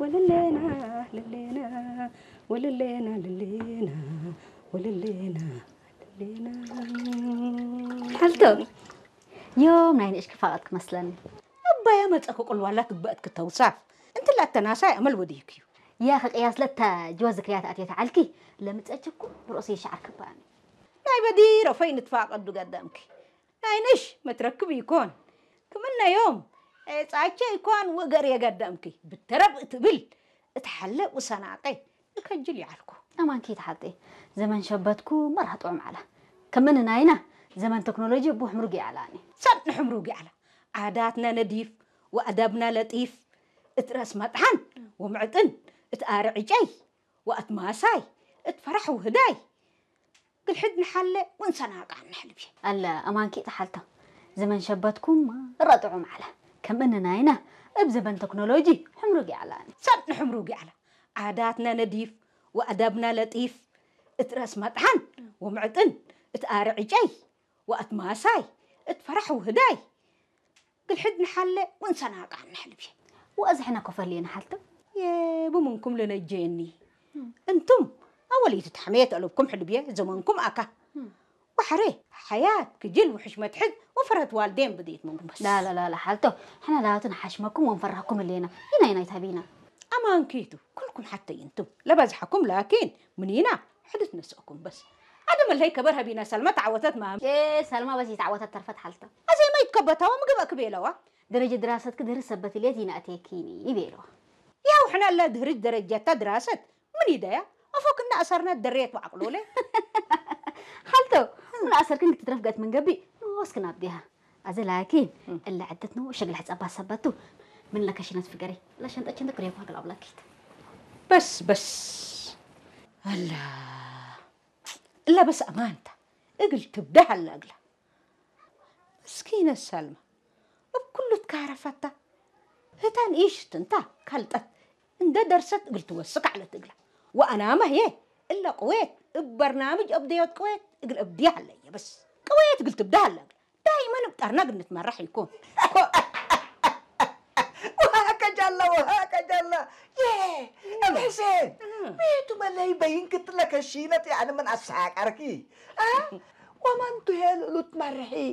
ወለሌና ለሌና ወለሌና ለሌና ወለሌና ለሌና ሓልቶ ዮም ናይ ንእሽኪ ፋቐት ክመስለኒ ኣባያ መጸ ክቁልዋላ ትግበእት ክተውሳፍ እንትላ ተናሳይ ኣመል ወዲህክ እዩ ያ ከቅያስ ለታ ጅዋ ዝክርያት ኣትየት ዓልኪ ለምጸችኩ ብርእሲ ይሻዓር ክባኒ ናይ በዲሮ ፈይን ትፋቀዱ ገደምኪ ናይ ንሽ መትረክብ ይኮን ክምነዮም ጻቸ ይኮን ወገር የገደምኪ ብተረብ እትብል እትሓለ ውሰናቀ እከጅል ይዓልኩ። ኣማንኪ ተሓልጢ ዘመን ሸበትኩ መርሃ ጥዑም ዓላ ከምእን ናይና ዘመን ቴክኖሎጂ እቡ ሕምሩግ ይዓላኒ። ሰጥ ንሕምሩግ ይዓላ ዓዳትና ነዲፍ ወኣዳብና ለጢፍ እት ረእስ መጥሓን ወምዕጥን እት ኣርዕጨይ ወኣት ማሳይ እት ፈራሕ ውህዳይ ግልሕድ ንሓለ ወንሰናቃ ንሕልብ ኣለ ኣማንኪ ተሓልቶ ዘመን ሸበትኩም መርሃ ጥዑም ዓላ ከምእን ናይና እብ ዘመን ቴክኖሎጂ ሕምሩግ ይዓላኒ። ሰጥ ንሕምሩግ ይዓላ ዓዳትና ነዲፍ ወኣዳብና ለጢፍ እት ረእስ መጥሓን ወምዕጥን እት ኣርዕጨይ ወኣት ማሳይ እት ፈራሕ ውህዳይ ግልሕድ ንሓለ ወንሰናቃ ንሕልብ ወእዝሕና ኮፈል ንሓልትም የቡ ምንኩም ልነጀየኒ እንቱም ኣወሊቱ ተሕመየት ኣለብኩም ሕልብየ ዘመንኩም ኣካ ወሕሬ ሓያት ክጅል ውሕሽ መትሕዝ ወፈረት ዋልዴን ብድኢት ምንጉመስ ላላላላ ሓልቶ ሕና ላቱ ንሓሽመኩም ወንፈራኩም እሌና ኢና ኢና ይታቢና ኣማንኪቱ ኩልኩም ሓተይ እንቱም ለበዝሓኩም ላኪን ምኒና ሕድት ነስእኩም በስ ኣደ መለይ ከበር ሃቢና ሰልማ ተዓወተት ማም ኤ ሰልማ በስ ይተዓወተት ተርፈት ሓልቶ ኣዘይ ማይት ከበታዋ ምግበ ክቤለዋ ደረጀ ድራሰትክ ድህሪ ሰበት ልየት ይናእቴኪኒ ይቤለዋ ያው ሕና ለ ድህሪ ደረጀታ ድራሰት ምን ይደያ ኣፎክ እና ኣሰርና ደሬት ወዓቅሎለ ሓልቶ ምን ኣሰርክን ክትትረፍ ገት ምን ገቢ ንወስክን ኣብዲሃ ኣዘ ላኪን እለ ዕደት ነው ሸግል ሕጸባ ሰበቱ ምን ለከሽነት ፍገሪ ለሸንጠችን ትክሬኳ ግላብ ለኪት በስ በስ ኣላ እላ በስ ኣማንታ እግል ትብዳህ ኣላ እግላ ምስኪነት ሳልማ እብ ኩሉ ትካረፈታ ህታን ኢሽት እንታ ካልጠት እንደ ደርሰት እግል ትወስክ ዓለት እግላ ወኣናመ ህየ እለ ቅዌት እብ በርናምጅ እብደዮት ቅዌት እግል እብድያ ኣለየ በስ ቅዌት እግል ትብዳ ኣለ እግላ ዳይመን እብ ጠርነግ እንትመራሕ ይኩን وهكجلا وهكجلا يه ام حسين ميتو ملي بين كتلك الشينة يعني من أساكركي ها ومن تهيل لتمرحي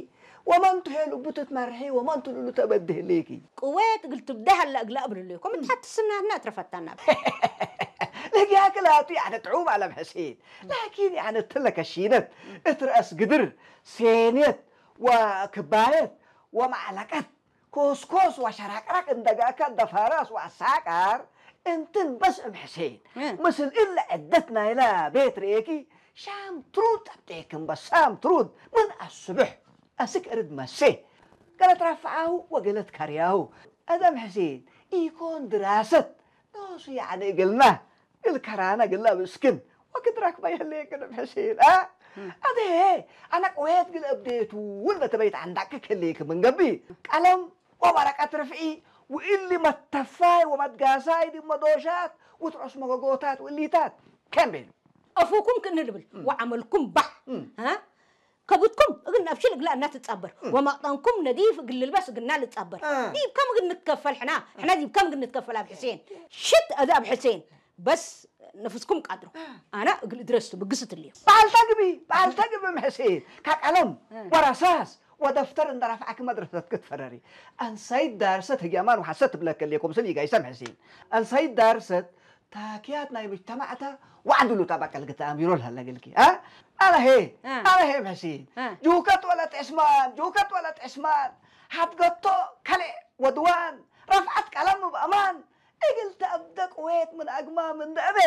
ومن تهيل بتتمرحي ومن تلو تبده ليكي ቅዌት እግል ትብዳህ ኣለ እግላ እብልልኩም እትሓትስናትና እትረፈታና ለጊያክላቱ ያነ ጥዑም ኣለም ሕሴን ላኪን ያነ ትለከ ሺነት እትረእስ ግድር ሴኔት ወክባየት ወማዕለቀት ኮስኮስ ወሸራቅራቅ እንደጋካ ደፋራስ ወአሳቃር እንትን በስ እም ሕሴን ምስል እለ ዕደት ናይላ ቤት ርኤኪ ሻም ትሩድ ጠብጤክም በሳም ትሩድ ምን ኣስብሕ ኣስክ እርድ መሴ ገለት ረፍዓሁ ወገለት ከርያሁ ኣደም ሕሴን ኢኮን ድራሰት ኖሱ ያዕኒ እግልና እግል ከራና ግላ ብስክን ወክድራክ ማይህሌ ቅድም ሕሴን አ ኣደ ኣነ ቅዌት ግል እብዴቱ ውል በተበይት ዓንዳቅ ክሌክ ምን ገቢ ቀለም ወወረቀት ርፍዒ ውእሊ መተፋይ ወመትጋሳይ ድመዶሻት ውትዖስ መጎጎታት ውእሊታት ከም ቤሉ ኣፉኩም ክንልብል ወዓመልኩም ባሕ ከብትኩም እግል ናብ ሽል እግላ እናትጻበር ወመቕጠንኩም ነዲፍ እግል ልልበስ እግልና ልጻበር ዲብ ከም እግል ንትከፈል ሕና ሕና ዲብ ከም እግል ንትከፈል ኣብ ሕሴን ሽት እዚ ኣብ ሕሴን በስ ነፍስኩም ቃድሮ ኣና እግል እድረስቱ ብግስት እልዮ በዓል ተግቢ በዓል ተግቢ ምሕሴን ካቀለም ወረሳስ ወደፍተር እንደረፍዓክ መድረሰት ክትፈረሪ ኣንሳይት ዳርሰት ህግያማን ወሓሰት ትብለከልየ ኮምስል ይጋይሰ ምሕሴን ኣንሳይት ዳርሰት ታክያት ናይ ምጅተማዕታ ዋዕድሉ ታባቀል ግታ ኣሚሮ ለሀለግልኪ አ ኣለሄ ኣለሄ ምሕሲን ጁከት ወለት ዕስማን ጁከት ወለት ዕስማን ሓድገቶ ከልዕ ወድዋን ረፍዓት ቀለም ብኣማን እግል ተእብደ ቅዌት ምን ኣግማም እንደ እቤ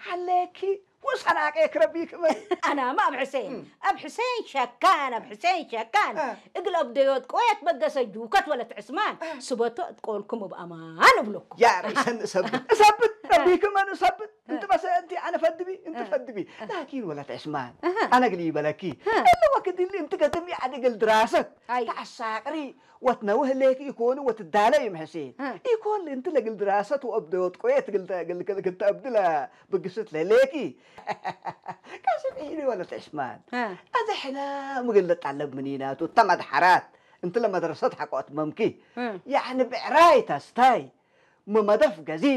ሓሌኪ ወሰናቄ ክረቢ ክመ ኣናማ ኣብ ሕሴን ኣብ ሕሴን ሸካን ኣብ ሕሴን ሸካን እግል ኣብ ደዮት ቆየት በገሰ ጁከት ወለት ዕስማን ስበቶ እትቆልኩም እብ ኣማን እብለኩም ያ ርእሰን እሰብት እሰብት ረቢክመን እሰብት እንት መሰ እንቲ ኣነ ፈድቢ እንት ፈድቢ ላኪን ወለት ዕስማን ኣነ ግል ይበለኪ እለ ወክድሊ እንት ገድም ያዕድ እግል ድራሰት ተዓሳቅሪ ወትነውህ ሌክ ኢኮኑ ወትዳለ ይም ሕሴን ኢኮን እንቲ ለግል ድራሰት ወእብደ ወጥቆየት ግልተ ግልተ ግልተ እብድለ ብግስት ለሌኪ ቀስም ኢኒ ወለት ዕስማን ኣዘ ሕና ምግል ለጣለብ ምኒናቱ ተመድሐራት እንቲ ለመድረሰት ሐቆት መምኪ ያዕኒ ብዕራይ ተስታይ ምመደፍ ገዚ